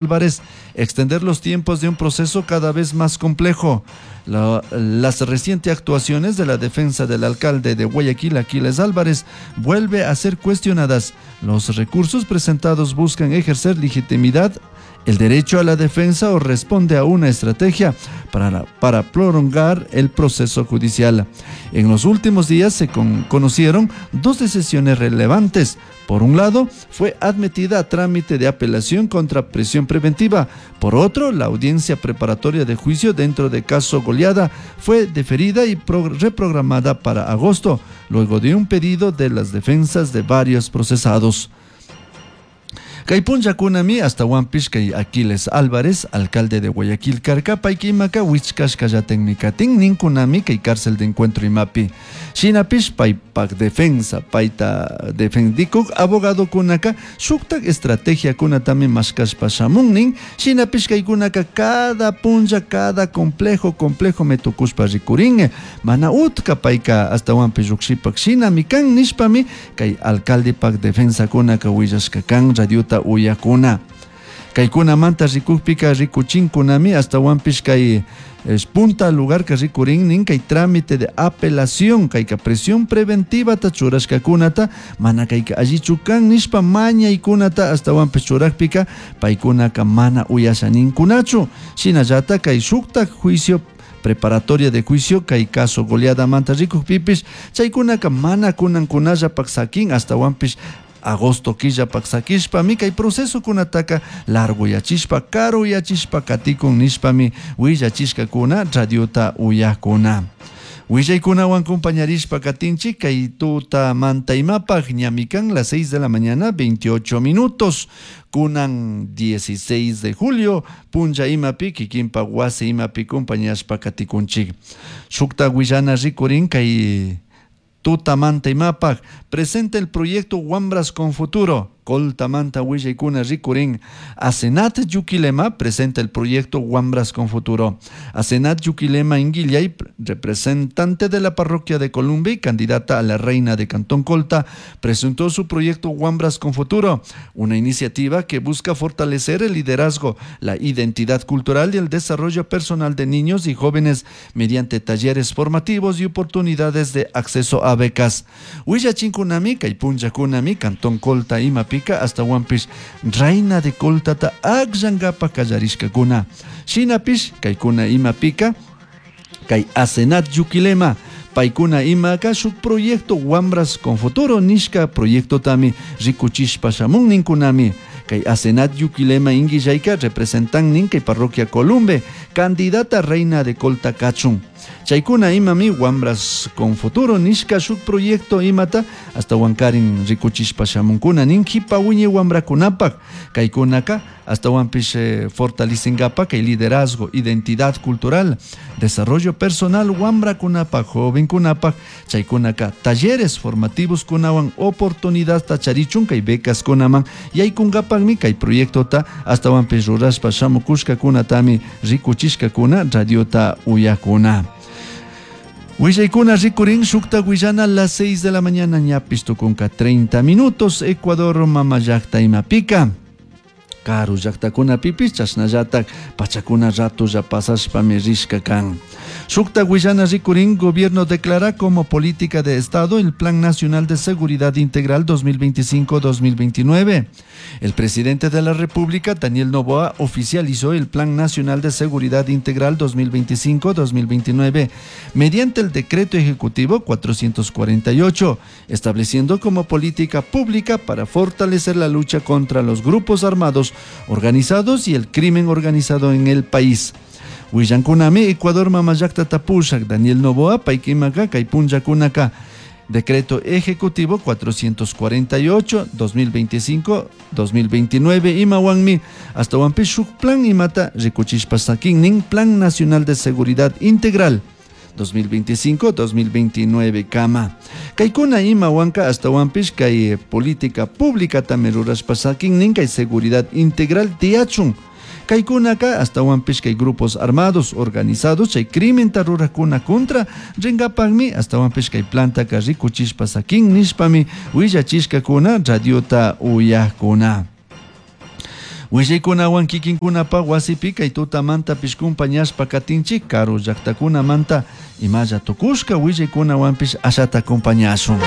Álvarez extender los tiempos de un proceso cada vez más complejo. Las recientes actuaciones de la defensa del alcalde de Guayaquil, Aquiles Álvarez, vuelve a ser cuestionadas. Los recursos presentados buscan ejercer legitimidad, el derecho a la defensa o responde a una estrategia para prolongar el proceso judicial. En los últimos días se conocieron dos decisiones relevantes. Por un lado, fue admitida a trámite de apelación contra prisión preventiva. Por otro, la audiencia preparatoria de juicio dentro de caso Goleada fue deferida y reprogramada para agosto, luego de un pedido de las defensas de varios procesados. Kay punllakunami ashtahuanpish kay Aquiles Álvarez, alcalde de Guayaquil karka, payka imaka huichcashcallatajmi katin nincunami kay cárcel de encuentro imapi. Shinapish paypak defensa, payta defendicuj abogadocunaka shuktak estrategiacunatami mashkashpa shamun nin. Shinapish kaykunaka cada punlla, cada complejo, complejo me tucushpa ricurin. Mana utka payka ashtahuanpish llukshipak shinami kan nishpami kay alcaldepak defensacunaka willashka kan radiota uyakuna. Kaykunamanta rikukpika rikuchinkunami ashtahuanpish kay es punta lugar que rikurin nin kay trámite de apelación kayka prisión preventiva ta churashkakunata mana kayka allichu kan nishpa mañaykunata ashtahuanpish churakpika paykunaka mana uyasha ninkunachu. Shinallata kay shuktak juicio preparatoria de juicio kay caso goleadamanta rikukpipish chaykunaka mana kunankunallapak sakin ashtahuanpish agosto killapak sakishpami kay procesokunataka largoyachishpa karuyachishpa katikun nishpami willachishkakuna radiota uyakuna. Willaykunawan compañarishpa katinchik kay tutamanta imapaj ñami kan las 6 de la mañana 28 minutos. Kunan 16 de julio punlla imapi kikinpak wasi imapi compañashpa katikunchik. Shukta willana rikurin kay tutamanta imapaj presenta el proyecto Wambras con Futuro. Coltamanta willaykuna rikurin. Asenat Yuquilema presenta el proyecto Wambras con Futuro. Asenat Yuquilema Inguillay, representante de la parroquia de Columbia y candidata a la reina de Cantón Colta, presentó su proyecto Wambras con Futuro, una iniciativa que busca fortalecer el liderazgo, la identidad cultural y el desarrollo personal de niños y jóvenes mediante talleres formativos y oportunidades de acceso a becas. Willachinkunami, kay punllakunami, Cantón Colta imapi hasta Huanpish, reina de Coltata akllankapa kallarishkakuna. Shinapish, kaykuna imapika, kay Asenat Yuquilema, paykuna imaka shuk proyecto Wambras con Futuro nishka proyecto tami rikuchishpa shamun ninkunami. Kay Asenat Yuquilema Inguillayka representan nin kay parroquia Columbe, candidata reina de Colta kachun. Chaykuna imami Wambras con Futuro nishka shuk proyecto imata hasta Huancarin rikuchishpa shamunkuna nin jipa wiñay wambrakunapak. Kaykunaka hasta Huanpish fortalecengapa kay liderazgo, identidad cultural, desarrollo personal wambrakunapak, jovenkunapak. Chaykunaka talleres formativos kunawan oportunidad tacharichun kay becas kunaman yaykunkapakmi kay proyectota hasta Huanpish rurashpa shamukushkakunatami rikuchishkakuna radiota uyakuna. Willaykuna rikurin shukta willana las 6 de la mañana ñapis tukunka 30 minutos Ecuador mama llakta imapika. Karu llaktakunapipis chashnallatak pachakuna ratulla pasashpami rishka kan. Shukta willana rikurin gobierno declara como política de Estado el Plan Nacional de Seguridad Integral 2025-2029. El presidente de la República, Daniel Noboa, oficializó el Plan Nacional de Seguridad Integral 2025-2029 mediante el Decreto Ejecutivo 448, estableciendo como política pública para fortalecer la lucha contra los grupos armados organizados y el crimen organizado en el país. Willankunami, Ecuador mama llaktata pushak, Daniel Noboa, paykimaka, kay punllakunaka. Decreto Ejecutivo 448, 2025-2029, imawanmi, hasta huampi shuk plan imata rikuchishpa sakin nin Plan Nacional de Seguridad Integral 2025-2029 kama. Kaykuna imawanka hasta huampish kay política pública también rurashpa sakin nin kay seguridad integral tiyachun. Kaykunaka hasta huampish kay grupos armados organizados chay crimen rurakuna contra rinkapakmi hasta huampish kay plantaka rikuchishpa sakin nishpami willachishkakuna radiota uyakuna. Willaykunawan kikinkunapa wasipi kay tutamantapish kumpañashpa katinchik karu llaktakunamanta imalla tukushka willaykunawanpish ashata acompañashun.